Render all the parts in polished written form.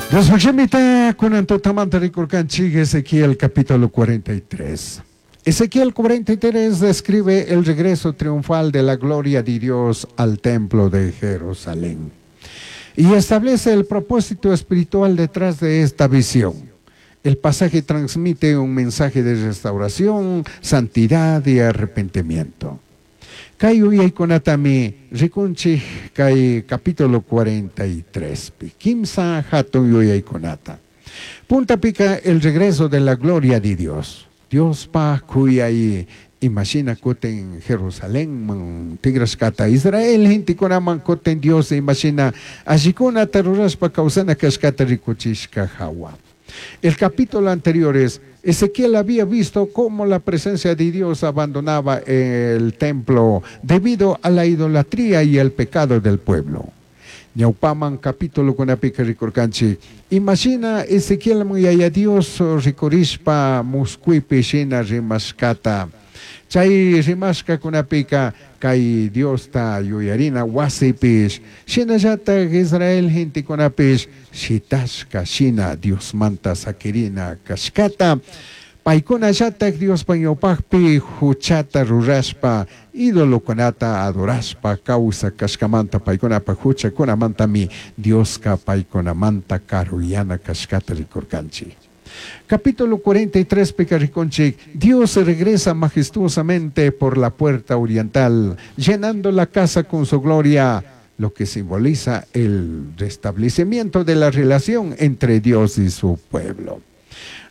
Diospaj shimita kunan tutamanta rikurkanchik Ezequiel capítulo 43. Ezequiel 43 describe el regreso triunfal de la gloria de Dios al templo de Jerusalén y establece el propósito espiritual detrás de esta visión. El pasaje transmite un mensaje de restauración, santidad y arrepentimiento. Kay yuyaykunatami rikunchik kay capítulo 43 pi. Kimsa hatun yuyaykunata. Puntapika el regreso de la gloria de Dios. Diospaj kuyay imashina kutin Jerusalenman tigrashkata Israel gentekunaman kutin Dios imashina allikunata rurashpa kawsana kashkata rikuchishka hawa. El capítulo anterior es, Ezequiel había visto cómo la presencia de Dios abandonaba el templo debido a la idolatría y el pecado del pueblo. Ñawpaman capítulo kunapika rikurkanchik. Imashina Ezequiel Yaya Dios rikurishpa muskuipi shina rimashkata. Chay rimashkakunapika kay Diosta yuyarina wasipish shinallatak Israel gentekunapish shitashka shina Diosmanta sakirina kashkata. Paykunallatak Diospa ñawpakpi huchata rurashpa idolokunata adorashpa kawsak kashkamanta paykunapa huchakunamantami Dioska paykunamanta karuyana kashkata rikurkanchik. Capítulo 43 pika rikunchik, Dios regresa majestuosamente por la puerta oriental, llenando la casa con su gloria, lo que simboliza el restablecimiento de la relación entre Dios y su pueblo.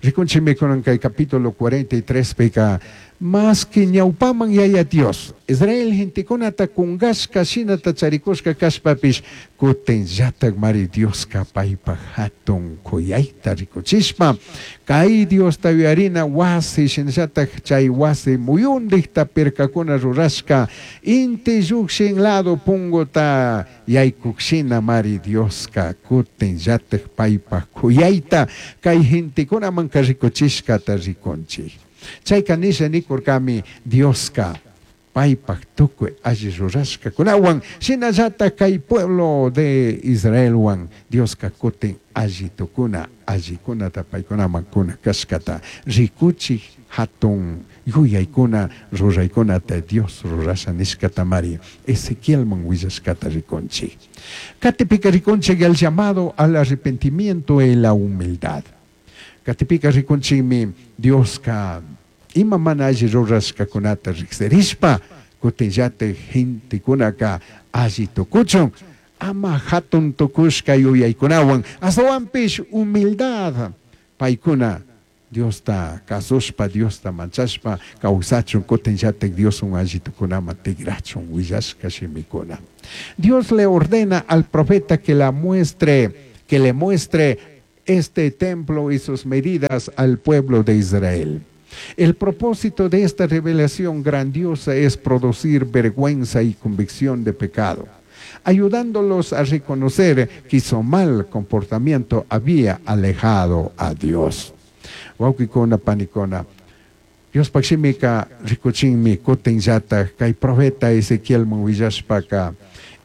Rikunchikmi kunan kay capítulo 43 pika, más que ñawpaman Yaya Dios, Israel gentekunata kungashka shinata charikushka kashpapish, kutin llatak mari Dioska paypaj hatun kuyayta rikuchishpa, kay Diosta yuyarina wasi shinallatak chay wasi muyundikta pirkakuna rurashka, inti llukshin lado punguta yaykuk shina mari Dioska kutin llatak paypaj kuyayta kay gentekunamanka rikuchishkata rikunchik. Chayka nisha nikurkami Dioska paypaj tukuy alli rurashkakunawan shinallatak kay pueblo de Israelwan Dioska kutin alli tukuna allikunata paykunaman kuna kashkata rikuchik hatun yuyaykuna ruraykunata Dios rurasha nishkatamari Ezequielman willashkata rikunchik. Katipika rikunchik el llamado al arrepentimiento y la humildad. Katipika rikunchikmi Dioska ima mana alli rurashkakunata riksirishpa kutinllatik gentekunaka alli tukuchun ama hatun tukushka yuyaykunawan ashtawanpish humildad paykuna Diosta kasushpa Diosta manchashpa kawsachun kutinllatik Dioswan alli tukunaman tigrachun willashka shimikuna. Dios le ordena al profeta que la muestre, que le muestre este templo y sus medidas al pueblo de Israel. El propósito de esta revelación grandiosa es producir vergüenza y convicción de pecado, ayudándolos a reconocer que su mal comportamiento había alejado a Dios. Wawqikuna panikuna, Diospaj shimika rikuchinmi kutinllatak kay profeta Ezequielman willashpaka,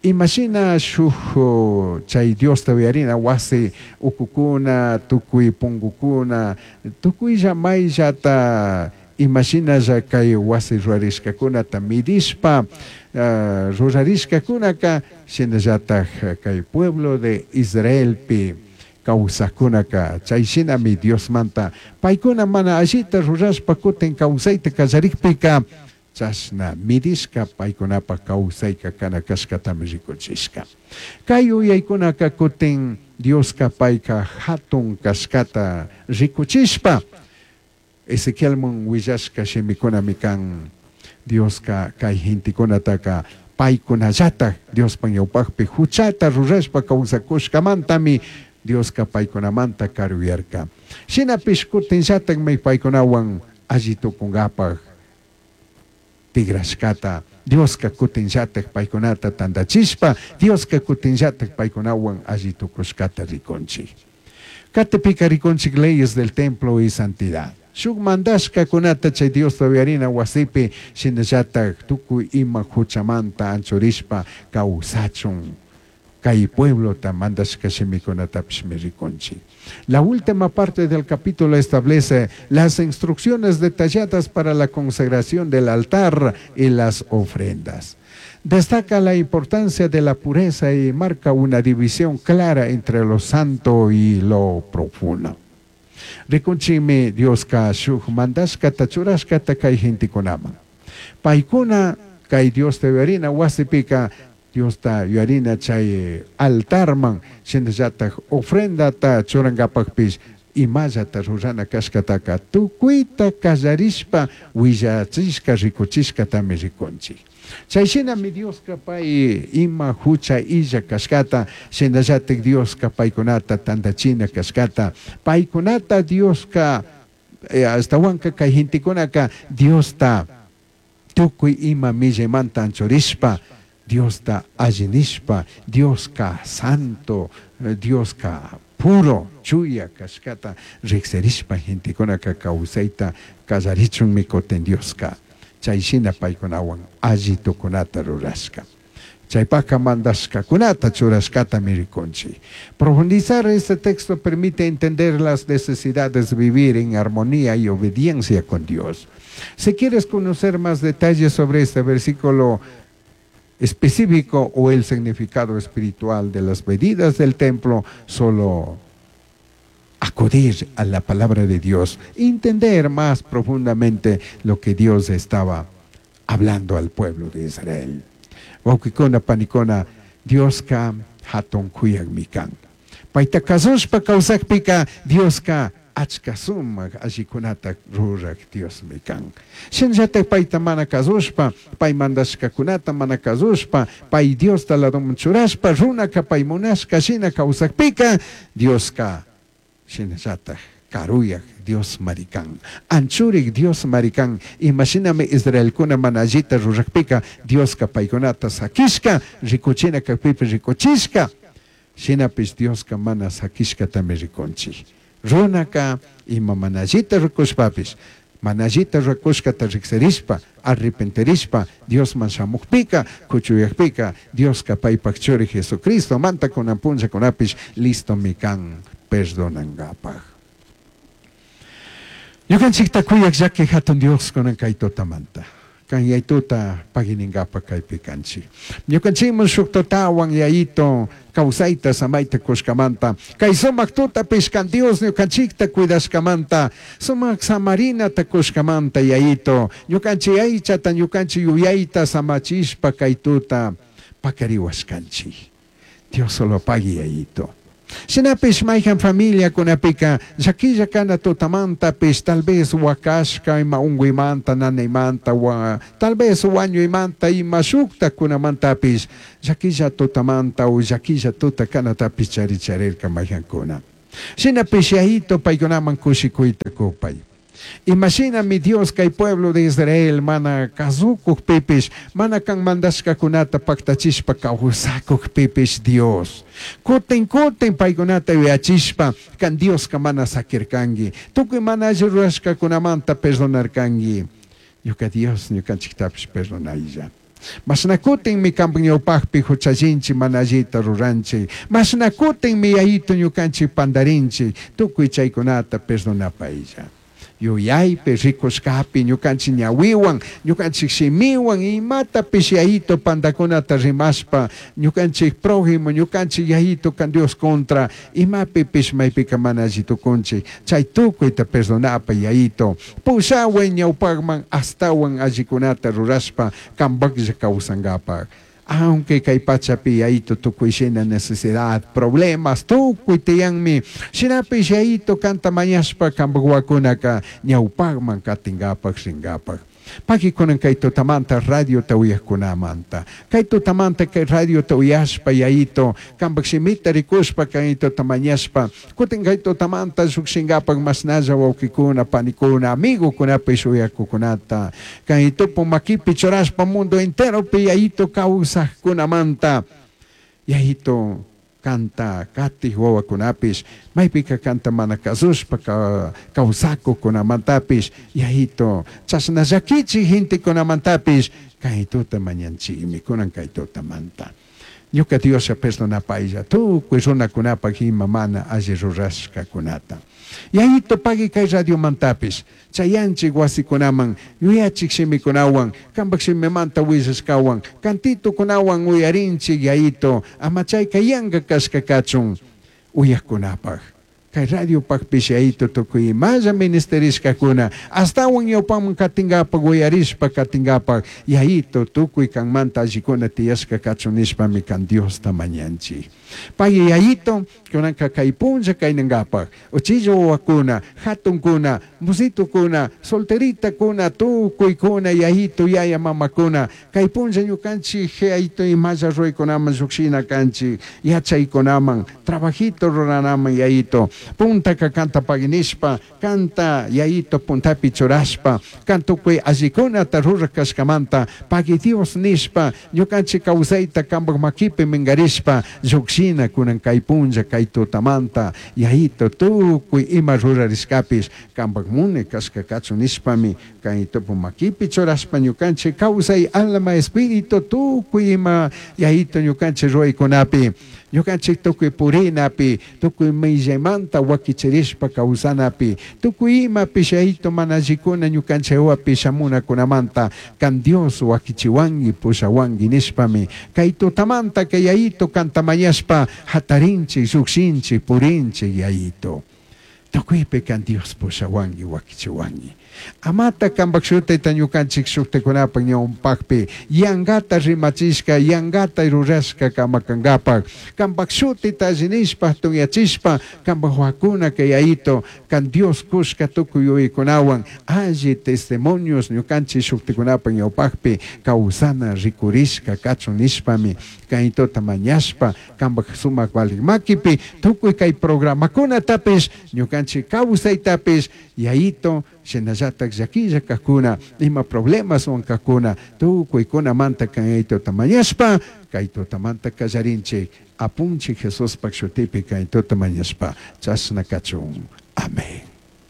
imashina shuk chay Diosta uyarina wasi ukukuna, tukuy pungukuna, tukuylla mayllata imashinalla kay wasi rurarishkakunata midishpa, rurarishkakunaka shinallatak kay pueblo de Israelpi kawsakkunaka chay shinami Diosmanta paykuna mana allita rurashpa kutin kawsayta kallarikpika chashna midishka paykunapa kawsayka kana kashkatami rikuchishka. Kay yuyaykunaka kutin Dioska payka hatun kashkata rikuchishpa Ezequielman willashka shimikunami kan Dioska kay gentekunataka paykunallatak Diospa ñawpakpi huchata rurashpa kawsakushkamantami Dioska paykunamanta karuyarka. Shinapish kutinllatakmi paykunawan alli tukunkapaj tigrashkata Dioska kutinllatak paykunata tantachishpa Dioska kutinllatak paykunawan alli tukushkata rikunchik. Katipika rikunchik leyes del templo y santidad. Shuk mandashkakunata chay Diosta uyarina wasipi shinallatak tukuy ima huchamanta anchurishpa kawsachun. Cai pueblota mandashca shimicunatapishmi ricunchij. La última parte del capítulo establece las instrucciones detalladas para la consagración del altar y las ofrendas. Destaca la importancia de la pureza y marca una división clara entre lo santo y lo profano. Ricunchimi Diosca shuj mandashcata churashcata cai gentecunaman. Paicuna cai Diosta yuyarina huasipica Diosta yuyarina chai altarman shinallataj ofrendata churangapajpish imallata rurana cashcataca tucuita callarishpa huillachishca ricuchishcatami ricunchij. Chai shinami Diosca pai ima jucha illa cashcata, shinallataj Diosca paicunata tandachina cashcata, paicunata Diosca ashtahuanca cai gentecunaca Diosta tucui ima millaimanta anchurishpa, Diosta alli nishpa, Diosca santo, Diosca puro, chuya cashcata rijsirishpa gentecunaca causaita callarichunmi cutin Diosca chai shina paicunahuan alli tucunata rurashca. Chaipaca mandashcacunata churashcatami ricunchij. Profundizar este texto permite entender las necesidades de vivir en armonía y obediencia con Dios. Si quieres conocer más detalles sobre este versículo específico o el significado espiritual de las medidas del templo, solo acudir a la palabra de Dios, entender más profundamente lo que Dios estaba hablando al pueblo de Israel. Huauquicuna, panicuna, Diosca hatun cuyajmi can. Paita cazushpa causajpica Diosca achca sumac allicunata ruraj Diosmi can. Shinallataj paita mana cazushpa, pai mandashcacunata mana cazushpa, pai Diosta ladoman churashpa, runaca pai munashca shina causajpica, Diosca shinallataj caruyaj Dios marican. Anchurik Dios marican. Imashinami Israelcuna mana allita rurajpica, Diosca paicunata saquishca, ricuchina cajpipish ricuchishca. Shinapish Diosca mana saquishcatami ricunchij. Runaca ima mana allita ricushpapish, mana allita ricushcata rijsirishpa, arrepentirishpa, Diosman shamujpica, cuchuyajpica, Diosca paipaj churi Jesucristomanta cunan punllacunapish listomi can perdonangapaj. Ñukanchikta kuyaj llaki hatun Dios kunan kay tutamanta. Kan yaytuta paginingapaj kaypi kanchik. Ñukanchikman shuk tutawan yayito kawsayta samayta kushkamanta. Kay sumak tutapish kan Dios ñukanchikta cuidashkamanta. Sumak samarinata kushkamanta yayito. Ñukanchik aychata ñukanchik yuyayta samachishpa kay tuta pakariwashkanchik. Dios solo pagui yayito. Shinapish mayhan familiakunapika llaquilla kana tutamantapish tal vez wakashka ima unguymanta nanaymanta wa tal vez wañuymanta ima shuktakunamantapish llaquilla tutamanta o llaquilla tuta kanatapish charicharirka mayhankuna. Shinapish yayito paykunaman kushikuyta kupay. Imashinami Dios kay pueblo de Israel mana kazukukpipish, mana kan mandashkakunata paktachishpa kawsakukpipish Dios. Kutin kutin paykunata yuyachishpa kan Dioska mana sakirkanki. Tukuy mana alli rurashkakunamanta perdonarkanki. Ñuka Dios ñukanchiktapish perdonaylla. Mashna kutinmi kanpak ñawpakpi huchallinchik mana allita ruranchik. Mashna kutinmi yayito ñukanchik pandarinchik. Tukuy chaykunata perdonapaylla. Yuyaypi rikushkapi ñukanchik ñawiwan, ñukanchik shimiwan, imatapish yayito pandakunata rimashpa, ñukanchik prójimo, ñukanchik yayito kan Dios contra, imapipish maypika mana alli tukunchik, chay tukuyta perdonapa yayito, pushaway ñawpakman astawan allikunata rurashpa kanpaklla kawsankapak. Aunque kay pachapi yayito tukuy shina necesidad, problemas, tukuy tiyanmi, shinapish yayito kanta mañashpa kanpak wawakunaka ñawpakman katinkapak rinkapak. Paki kunan kay tutamanta radiota uyajkunamanta. Kay tutamanta kay radiota uyashpa yayito, kanpak shimita rikushpa kay tuta mañashpa, kutin kay tutamanta llukshinkapak mashnalla wawkikuna, panikuna, amigukunapish uyakukunata. Kay tupu makipi churashpa mundo enteropi yayito kawsajkunamanta. Yayito kanta katij wawakunapish, maypika kanta mana kasushpa kawsakukunamantapish, yayito chashna llakichik gentekunamantapish, kay tuta mañanchikmi kunan kay tutamanta. Ñuca Dioslla perdonapailla tucui runacunapaj ima mana alli rurashcacunata. Yayito pagui kay radiomantapish, chayanchik wasikunaman yuyachik shimikunawan, kanpak shimimanta willashkawan, cantitukunawan uyarinchik yayito, ama chayka yanka kashka kachun uyakkunapaj. Kay radiopajpish yayito tukuy imalla ministerishkakuna, ashtawan ñawpaman katinkapak uyarishpa katinkapak, yayito tukuy kanmanta allikuna tiyashka kachun nishpami kan Diosta mañanchik. Pagui yayito, kunanka kay punlla kaynankapak, uchilla wawakuna, hatunkuna, musitukuna, solteritakuna, tukuykuna, yayito, yaya mamakuna, kay punlla ñukanchik yayito imalla ruraykunaman llukshina kanchik, yachaykunaman, trabajito ruranaman yayito, puntaka kanta pagui nishpa, kanta yayito puntapi churashpa, kan tukuy allikunata rurak kashkamanta, pagui Dios nishpa, ñukanchik kawsayta kanpak makipi minkarishpa, llukshina kunan kay punlla kay tutamanta, yayito tukuy ima rurarishkapish, kanpak muni kashka kachun nishpami, kay tupu makipi churashpa ñukanchik kawsay alma, espíritu, tukuy ima yayito ñukanchik ruraykunapi, ñukanchik tukuy purinapi, tukuy millaymanta wakichirishpa kawsanapi, tukuy imapish yayito mana allikuna ñukanchik wapi shamunakunamanta, kan Dios wakichiwanki, pushawanki nishpami, kay tutamanta kay yayito kanta mañashpa hatarinchik, llukshinchik, purinchik yayito. Tukuypi kan Dios pushawanki, wakichiwanki. Amata kanpak shutita ñukanchik shuktikunapaq ñawpakpi yankata rimachishka, yankata rurashka kamakankapak, kanpak shutita alli nishpa tunyachishpa, kanpak wakuna kay yayito, kan Dios kushka tukuy yuyaykunawan alli testimonios ñukanchik shuktikunapaq ñawpakpi kawsana rikurishka kachun nishpami, kaytota mañashpa, kanpak sumak valik makipi, tukuy kay programakunatapish, ñukanchik kawsaytapish, yayito, shinallatak llaquilla kajkuna, ima problemaswan kajkuna, tukuykunamanta kaytota mañashpa, kay tutamanta kallarinchik, apunchik Jesuspak shutipi kaytota mañashpa, chashna kachun. Amén.